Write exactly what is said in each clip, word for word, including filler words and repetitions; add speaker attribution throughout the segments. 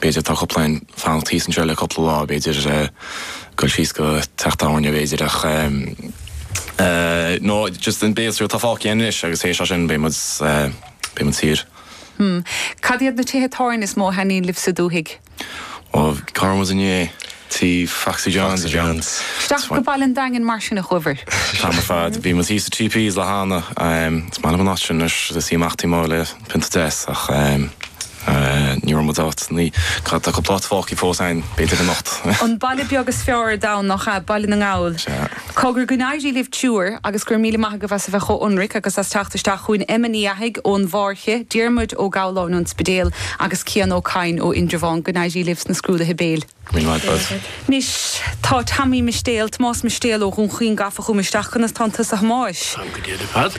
Speaker 1: B'fhéidir tá cúpla fanacht thíos anseo le cúpla lá b'fhéidir dul síos go teach tábhairne b'fhéidir ach uh, no just an béaltriail tá fágtha anois agus théis sin beidh muid uh, beidh muid saor.
Speaker 2: Hmm. Cad iad na tithe tábhairne is mó a thaitníonn libh sa dúthaigh?
Speaker 1: Ó cá raibh muid inné tí Foxy Johns
Speaker 3: Johns.
Speaker 2: Isteach go Baile an Daingin mar sin a chuabhair.
Speaker 1: Tá fad bhí muid thíos Three Ps le hAnna is maith liom an áit sin is í amach má le pionta deas ach ní raibh muid áit ní tá cúpla fágtha fós ann b'fhéidir anocht.
Speaker 2: An baile beag is fearr ar domhan nach ea Baile na nGall. Cogar go n-éirí libh triúr agus gur míle maith agaibh as a bheith chomh hionraic agus as teacht isteach chugainn Emma Ní Fhathaigh ón bhFáirche, Diarmuid Ó Gabhláin ón Spidéal agus Cian Ó Cadhain ó Indreabhán go n-éirí libh sna scrúduithe béil. Anois tá Tommy Mistéil Tomás Mistéil ó Dhún Chaoin gafa chugam isteach conas tánn tusa a Thomáis.
Speaker 4: Go fad.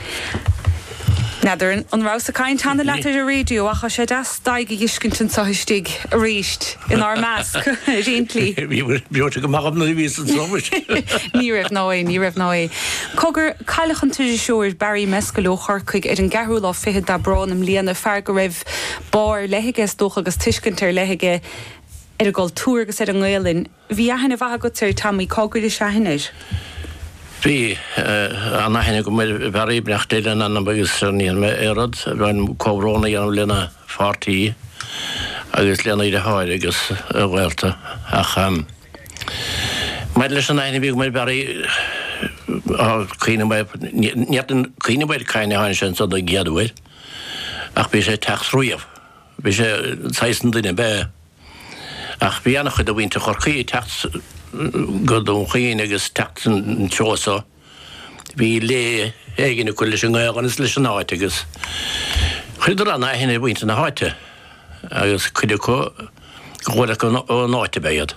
Speaker 2: N'fheadar an rabhas ag caint cheana leat ar an raidió ach tá sé deas d'aghaidh a fheiscint anseo istigh arís inár measc réintí.
Speaker 4: Bhí go maith na bhí san somas.
Speaker 2: Ní raibh ná é, ní raibh ná é. Cogar cailleadh an t-iriseoir Barry Mescal ó Chorcaigh ar an gceathrú lá fichead d'Aibreán i mbliana fear go raibh bá ar leith aige is dócha agus tuiscint ar leith aige ar an gcultúr agus ar an nGaelainn. Bhí aithne mhaith agat air Tommy cá gcuiris aithne air.
Speaker 4: Bhí an-aithne agam ar Barry brecht le an agus ní mé éad bhain comhbhrón a dhéanamh lena pháirtí agus lena dheartháir agus a ghaolta ach Mar leis an aithne bhí agam ar Barry cuimhním cuimhním cá tháinig sé anseo don gcéad uair ach bhí sé teacht riamh Bhí sé saghas duine be ach bhí an-chuid de mhuintir Chorcaí teacht go Dún Chaoin agus teacht an treo so. Bhí lé éigin acu leis an nGaelainn is leis an áit agus chuireadar an-aithne ar mhuintir na háite agus cuid acu go bhfuil ón áit ab ea iad.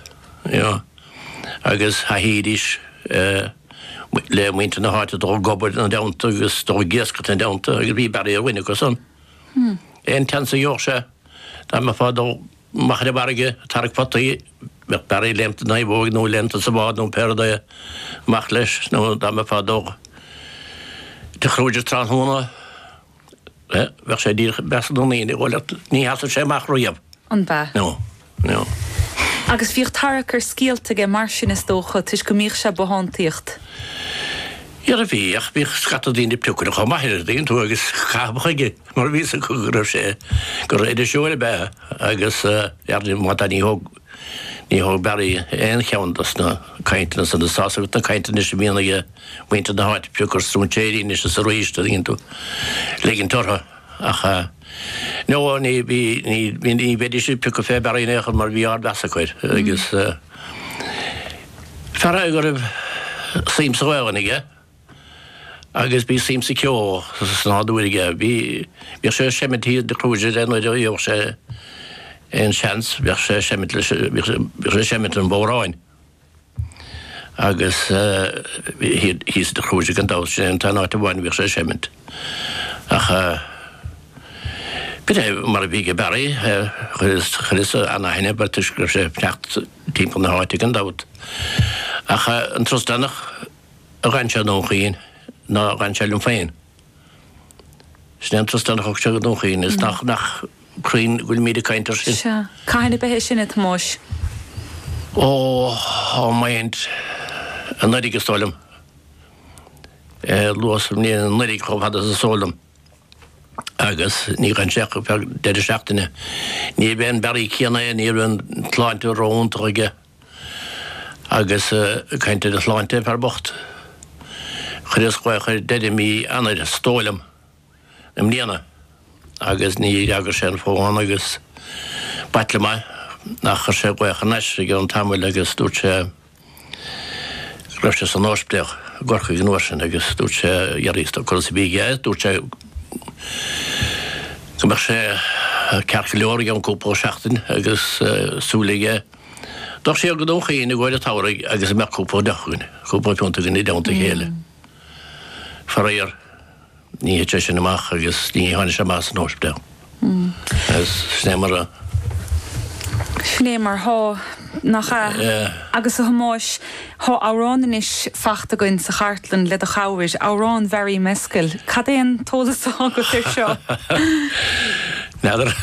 Speaker 4: Agus thaithídís le muintir na háite dul ag obair ina dteannta agus dul ag iascaireacht ina dteannta agus bhí Barry ar dhuine acu san. Aon tseans a gheobhadh sé dá mbeifeá ag dul amach ar an bhfarraige ag tarrac potaí, bheadh Barry léimte na naomhóig nó léimte sa bhád nó pé rud é amach leis nó dá mbeifeá ag dul Tigh Kruger tráthnóna, bheadh sé díreach i measc na ndaoine, bhuel, ní sheasadh sé amach riamh.
Speaker 2: An b'ea?
Speaker 4: No, no.
Speaker 2: Agus bhíodh tarrac ar scéalta aige mar sin is dócha, toisc go mbíodh sé ag bothántaíocht.
Speaker 4: Dhera bhí, ach bhíodh scata daoine ag piocadh chomh maith air, an dtuigeann tú, agus caitheamh chuige, mar bhí fhios acu go raibh sé, gur iriseoir ab ea agus ar má tá ní thóg, ní thóg Barry aon cheann dos na cainteanna san, is tá's agat na cainteanna anois a bhíonn ag muintir na háite, piocadh ar stróinséirí anois is arís, an dtuigeann tú, ligint orthu ach no ní bhí, ní, ní bheidís ag piocadh fé Barry in aon chor mar bhí ardmheas acu air agus fear é go raibh suim sa Ghaelainn aige agus bhí suim sa cheol sa nádúr aige. Bhí, bhíodh sé ag seimint thíos i dTigh Kruger é nuair a gheobhadh sé aon seans, bhíodh sé ag seimint leis, bhíodh sé, bhíodh sé ag seimint an bhodhráin agus thíos i dTigh Kruger gan dabht, sin é an t-aon áit amháin a bhíodh sé ag seimint. Ach b'in é mar a bhí ag Barry, chuireas, chuireas an-aithne air toisc go raibh sé ag teacht timpeall na háite gan dabht. Ach an turas deireanach a dhein sé i nDún Chaoin ná dhein sé liom féin. Sin é an turas deireanach a thug sé go Dún Chaoin is nach nach cruinn go bhfuilimid ag caint air sin.
Speaker 2: Sea. Cathain ab é sin, a Thomáis?
Speaker 4: Ó, á maint anuraidh is dóigh liom. Luath sa mbliain anuraidh chomh fada is is eol dom. Agus ní dhein sé ach ar feadh deireadh seachtaine. Ní b'é an Barry céanna é, ní raibh an tsláinte ró-iontach aige. Agus ag caint ar a shláinte, fear bocht, chuireas glaoch air deireadh mí Eanáir, is dóigh liom, i mbliana agus ní fhreagair sé an fón agus b'ait liom é ach chuir sé glaoch thar n-ais i gceann tamaill agus dúirt sé go raibh sé san ospidéal i gCorcaigh an uair sin agus dúirt sé dhearfaidh is conas a bhí aige dúirt sé go mbeadh sé ceart go leor i gceann cúpla seachtain agus súil aige dul siar go Dún Chaoin i gcomhair an tsamhraidh agus go mbeadh cúpla deoch againn, cúpla piúnta againn i dteannta a chéile. Faraor, ní thit sé sin amach agus ní tháinig sé amach as an ospidéal. Agus sin é mar a.
Speaker 2: Sin é mar thá, nach ea? Agus a Thomáis, thá amhrán anois fachta againn sa chartlann le do chabhair, amhrán Bharry Mescal. Cad é an t-eolas atá agat air seo?
Speaker 4: N'fheadar.